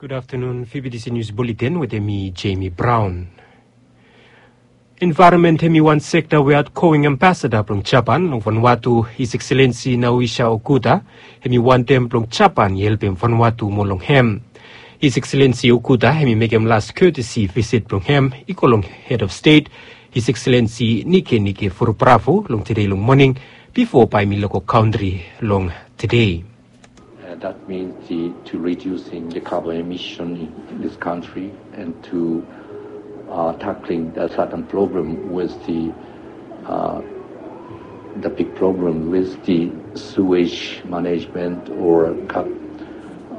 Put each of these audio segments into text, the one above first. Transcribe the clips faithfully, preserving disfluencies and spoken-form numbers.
Gud aftanun, V B T C News Bulletin wetem mi, Jamie Brown. Envaeronmen hemi wan sekta we aotgoing ambasada blong Japan long Vanuatu, His Excellency Naoisha Okuda, hemi wantem blong Japan i helpem Vanuatu moa long hem. His Excellency Okuda hemi mekem las courtesy visit blong hem i go long Head of State, His Excellency Nikenike Vurobaravu long tede long moning, bifo bae hemi lego kantri long tede. Uh, that means the, to reducing the carbon emission in this country and to uh, tackling the certain problem with the uh, the big problem with the sewage management or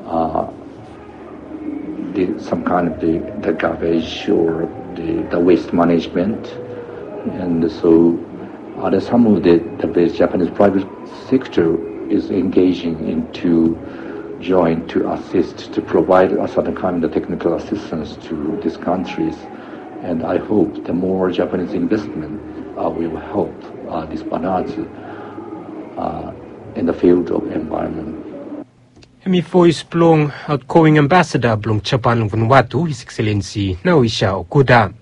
uh, the, some kind of the, the garbage or the, the waste management. And so uh, there's some of the, the Japanese private sector is engaging into join to assist to provide a certain kind of technical assistance to these countries. And I hope the more Japanese investment uh, will help uh, this Vanuatu uh, in the field of environment. Hemi voes blong aotgoing ambasada blong Japan long Vanuatu, His Excellency Naoisha Okuda.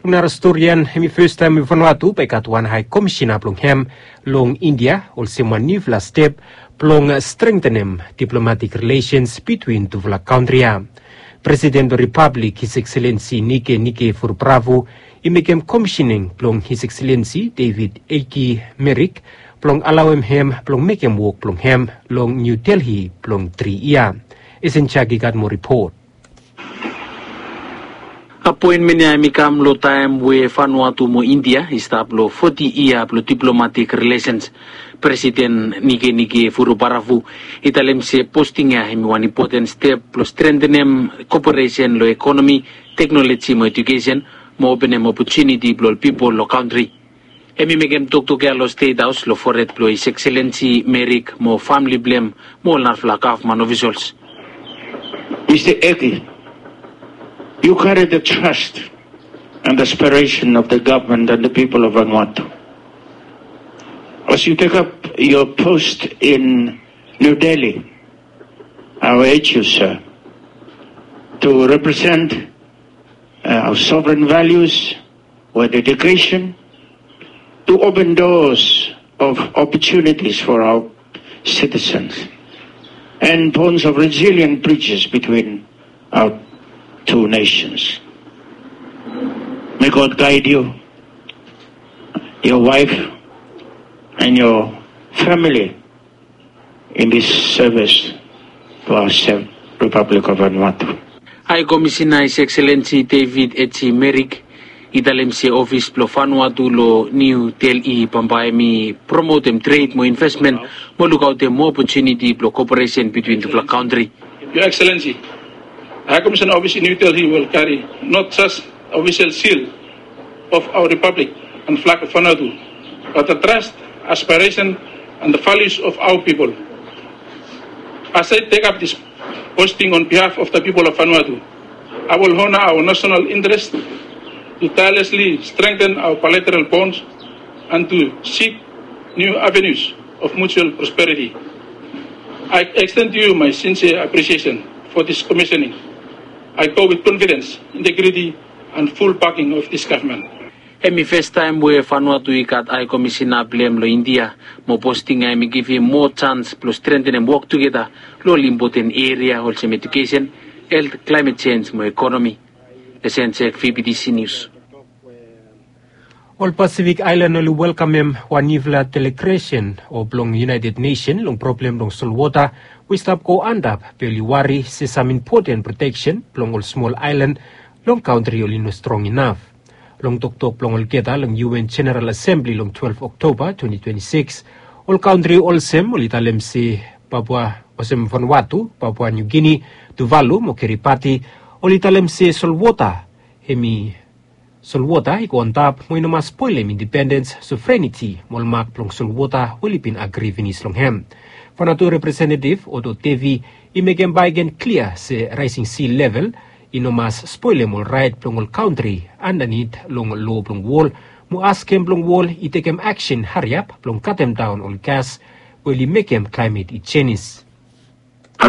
Long nara storian, hemi fastaem we Vanuatu bae i gat wan hae komisena blong hem long India, olsem wan niufala step blong strengtenem diplomatik rilesens bitwin tufala kantri ya. Presiden blong Ripablik, His Excellency Nikenike Vurobaravu, i mekem komisening blong His Excellency David Eki Merik blong alaoem hem blong mekem wok blong hem long Niu Delhi blong tri yia. Esen Jaki gat moa ripot. Apoenmen ya hemi kam long taem we Vanuatu mo India i stap long foti yia blong diplomatik rilesens. Presiden Nikenike Vurobaravu i talem se posting ya hemi wan impoten step blong strengtenem koperesen long ekonomi, teknoloji mo ejukesen, mo openem opotuniti blong ol pipol long kantri. Hemi mekem toktok ya long Stet Haos long fored blong His Excellency Merik mo famle blong hem mo ol narafala gavman ofisols. Mister Eki, you carry the trust and aspiration of the government and the people of Vanuatu. As you take up your post in New Delhi, I urge you, sir, to represent uh, our sovereign values with dedication to open doors of opportunities for our citizens and bonds of resilient bridges between our two nations. May God guide you, your wife, and your family in this service to our Republic of Vanuatu. Hae Komisena His Excellency David Eki Merik i talem se ofis blong Vanuatu long Niu Delhi bambae hemi promotem tred mo investmen mo lukaotem moa opotuniti blong koperesen bitwin tufala kantri. Your Excellency, High Commissioner Office in New Delhi will carry not just official seal of our Republic and flag of Vanuatu, but the trust, aspiration, and the values of our people. As I take up this posting on behalf of the people of Vanuatu, I will honor our national interest to tirelessly strengthen our bilateral bonds and to seek new avenues of mutual prosperity. I extend to you my sincere appreciation for this commissioning. I go with confidence, integrity, and full backing of this government. Hemi fastaem we Vanuatu i gat Hae Komisena blong hem long India, mo posting ya hemi givim moa janis blong strentenem wok tugeta long ol impoten eria olsem ejukesen, helt, klaemet jenj mo ekonomi. Esen Jek, V B T C Nius. Ol Pasifik aelan oli welkamem wan niufala delegresen o blong United Nesen long problem blong solwota we i stap go antap, be oli wari se sam impoten proteksen blong ol smol aelan long kantri oli no strong inaf. Long toktok blong olgeta long U N Jeneral Asembli long twelve Oktoba twenty twenty-six, ol kantri olsem oli talem se Papua, olsem Vanuatu, Papua New Guinea, Tuvalu mo Kiribati, oli talem se solwota, hemi solwota i go antap mo i no mas spolem indipendens, sovreniti mo ol mak blong solwota we oli bin agri finis long hem. Vanuatu representetiv Otto Tevi i mekem bae i ken klia se raesing si level i no mas spolem ol raet blong ol kantri andanit long loa blong wol, mo askem blong wol i tekem aksen hariap blong katemdaon ol gas we oli mekem klaemet i jenis.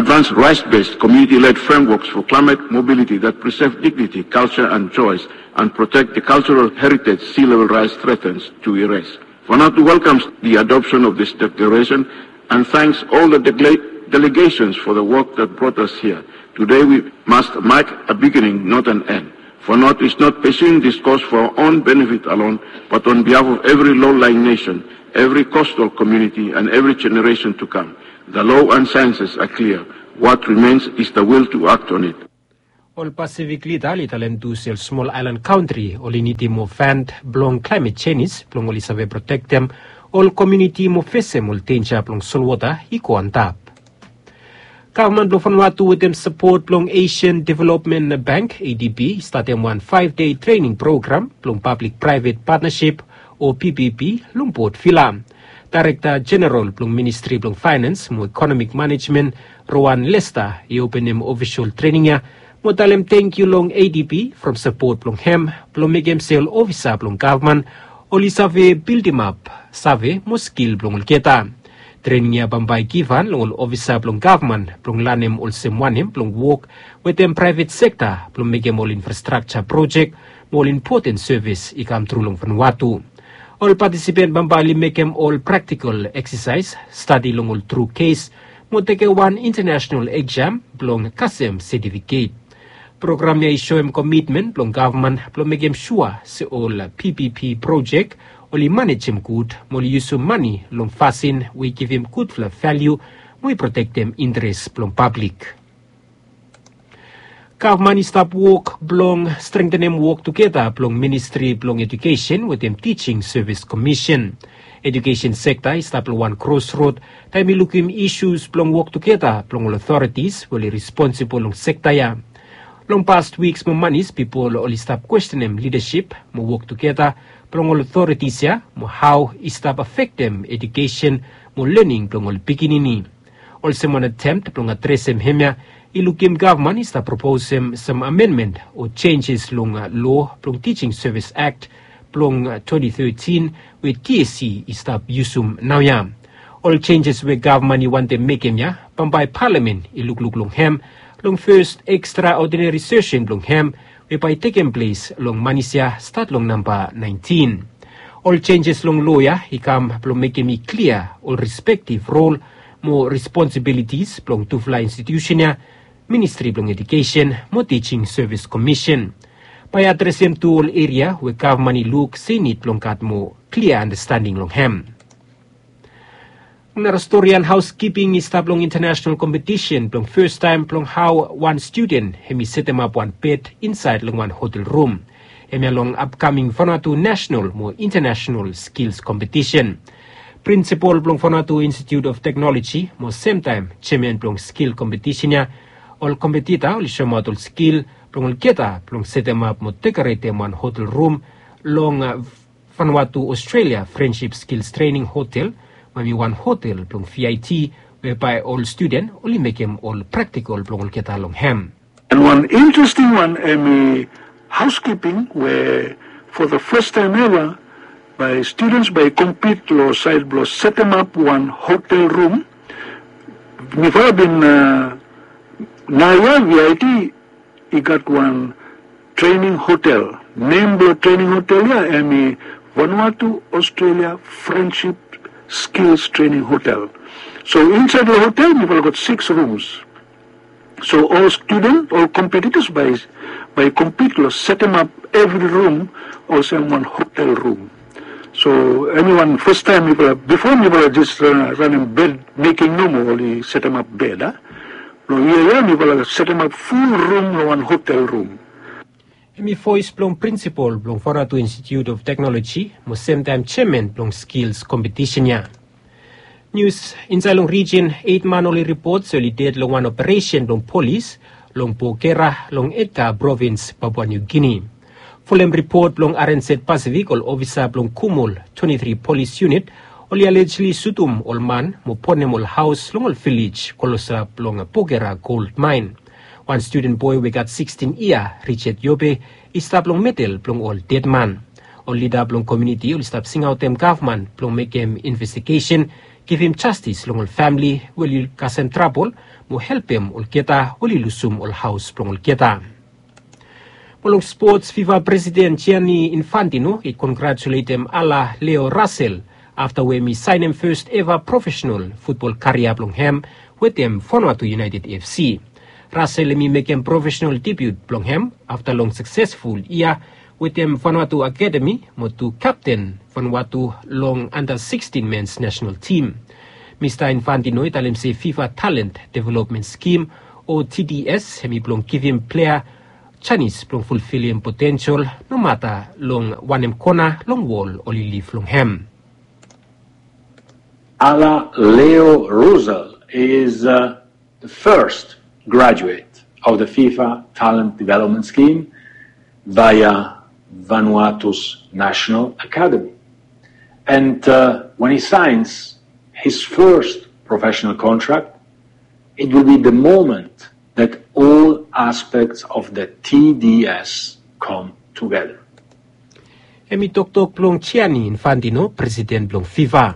Advance rights-based community-led frameworks for climate mobility that preserve dignity, culture and choice and protect the cultural heritage sea level rise threatens to erase. Vanuatu welcomes the adoption of this declaration and thanks all the dele- delegations for the work that brought us here. Today we must mark a beginning, not an end. Vanuatu is not pursuing this cause for our own benefit alone, but on behalf of every low-lying nation, every coastal community and every generation to come. The law and sciences are clear. What remains is the will to act on it. Ol Pasifik lida oli talem tu se ol smol aelan kantri oli nidim moa fand blong klaemet jenis blong oli save protektem ol komuniti mo fesem ol denja blong solwota i go antap. Gavman blong Vanuatu wetem sapot blong Asian Development Bank, A D B, i statem wan faef dei trening program blong pablik praevet patnasip o P P P long Port Vila. Daerekta Jeneral blong Ministri blong Faenans mo Ekonomik Manejmen, Rowan Lester, i openem ofisol trening ya mo talem tangkiu long A D B from sapot blong hem blong mekem se ol ofisa blong gavman oli save bildimap save mo skil blong olgeta. Trening ya bambae i givhan long ol ofisa blong gavman blong lanem olsem wanem blong wok wetem praevet sekta blong mekem ol infrastrakja projek mo ol impoten sevis i kamtru long Vanuatu. Ol patisipen bambae oli mekem ol praktikol eksasaes, stadi long ol tru kes mo tekem wan intanesenal eksam blong kasem setifiket. Program ya i soem komitmen blong gavman blong mekem sua se ol P P P projek oli manejem gud mo oli yusum mane long fasin we i givim gudfala valiu mo i protektem interes blong pablik. Gavman i stap wok blong strengtenem wok tugeta blong Ministri blong Ejukesen wetem Tijing Sevis Komisen. Ejukesen sekta i stap long wan krosrod taem i lukim isus blong wok tugeta blong ol otoritis we oli responsibol long sekta ya. Long past wiks mo manis pipol oli stap kwestenem lidasip mo wok tugeta blong ol otoritis ya mo hao i stap afektem ejukesen mo lening blong ol pikinini. Olsem wan atemt blong adresem hemia, i lukim gavman i stap proposem sam amenmen o jenjes long loa blong Tijing Sevis Akt blong twenti tetin we T S C i stap yusum naoia. Ol jenjes we gavman i wantem mekem ya bambae palamen i lukluk long hem long fes ekstraodinari sesen blong hem we bae i tekem ples long manis ya stat long namba naentin. Ol jenjes long loa ya i kam blong mekem i klia ol respektiv rol mo responsibilitis blong tufala institusen ya, Ministri blong Ejukesen mo Tijing Sevis Komisen. Bae i adresem tu ol eria we gavman i luk se i nid blong gat moa klia andastanding long hem. Nara storian haoskiping i stap long intanesenal kompetisen blong fastaem blong hao wan studen hem i setemap wan bed insaed long wan hotel rum. Hemia long apkaming Vanuatu Nasenal mo Intanesenal Skils Kompetisen. Prinsipol blong Vanuatu Institute of Technology mo semtaem jeaman blong skil kompetisen ya, ol kompetita oli soemaot ol skil blong olgeta blong setemap mo dekoretem wan hotel rum long Vanuatu Australia Friendship Skills Training Hotel, we hemi wan hotel blong V I T we bae ol studen oli mekem ol praktikol blong olgeta long hem. And wan interesting wan hemi housekeeping we for the first time ever bae students bae compete long side blong setemap wan hotel room. Mifala bin uh, naoia V I T i gat wan training hotel. Nem blong training hotel ya hemi Vanuatu Australia Friendship Skills Training Hotel. So insaed long hotel mifala gat six rooms. So ol studen ol kompetitas bae bae kompit long setemap evri rum olsem wan hotel rum. So hemi wan fastaem mifala bipo mifala jes ranem bed meking nomo oli setemap bed a. Long yia ya mifala setemap ful rum long wan hotel rum. Hemi voes blong prinsipol blong Vanuatu Institute of Technology mo semtaem jeaman blong skils kompetisen ya. Nius. Insaed long rijin eit man oli ripot se oli ded long wan operesen blong polis long Pokera long Edgar provins Papua New Guinea. Folem ripot blong R N Z Pasifik ol ofisa blong Kumul twenti tri polis yunit oli alejli sutum ol man mo bonem ol haos long ol vilej klosap long Pokera gold maen. Wan studen boe we i gat sikstin yia, Richard Yobe, i stap long medel blong ol dedman. Ol lida blong komuniti oli stap singaotem gavman blong mekem investigesen givim jastis long ol famili we oli kasem trabol, mo helpem olgeta we oli lusum ol haos blong olgeta. Mo long spots, fifa presiden Gianni Infantino i kongratuletem ala Leo Russell afta we hem i saenem fes eva profesenal futbol karia blong hem wetem Vanuatu United FC. Russell hem i mekem profesenal debiut blong hem afta long saksesful yia wetem Vanuatu Akademi mo tu kapten Vanuatu long anda sikstin mens nasenal tim. Mista Infantino i talem se fifa Talent Development Scheme, o TDS, hem i blong givim plea janis blong fulfilim potensel nomata long wanem kona long wol oli liv long hem. Ala Leo Russell is uh, the first graduate of the fifa Talent Development Scheme via Vanuatu's National Academy. And uh, when he signs his first professional contract, it will be the moment that all aspects of the TDS come together. Hem i toktok blong Gianni Infantino, presiden blong fifa.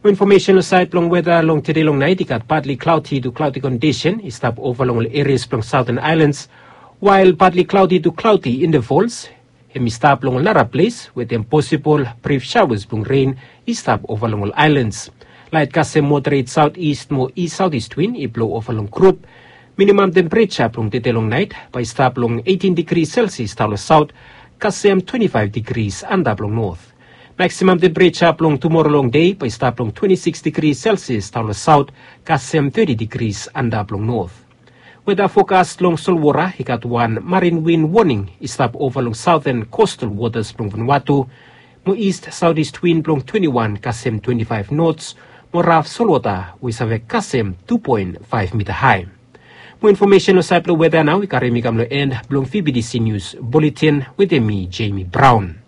Mo infomesen long saed blong weta long tede long naet, i gat partly cloudy to cloudy kondisen i stap ova long ol erias blong Southern Islands, wael partly cloudy to cloudy intervals hem i stap long ol nara ples wetem posibol brif shawas blong ren i stap ova long ol aelands. Laet kasem moderet saoteast mo east saoteast win i blo ova long grup. Minimam tempereja blong tede long naet bae i stap long eitin digri selsias daon long saot kasem twenti faef digris antap long not. Maksimam tempereja blong tumora long dei bae i stap long twenti sikis digri selsias daon long saot kasem teti digris antap long not. Weta fokas long solwota i gat wan marin win woning i stap ova long saoten kostal wotas blong Vanuatu, mo ist saoteast win blong twenti wan kasem twenti faef nots, mo raf solwota we i save kasem tu poen faef mita hae. Mo infomesen long saed blong weta nao i karim mi kam long en blong vbtc nius buletin wetem mi, Jamie Brown.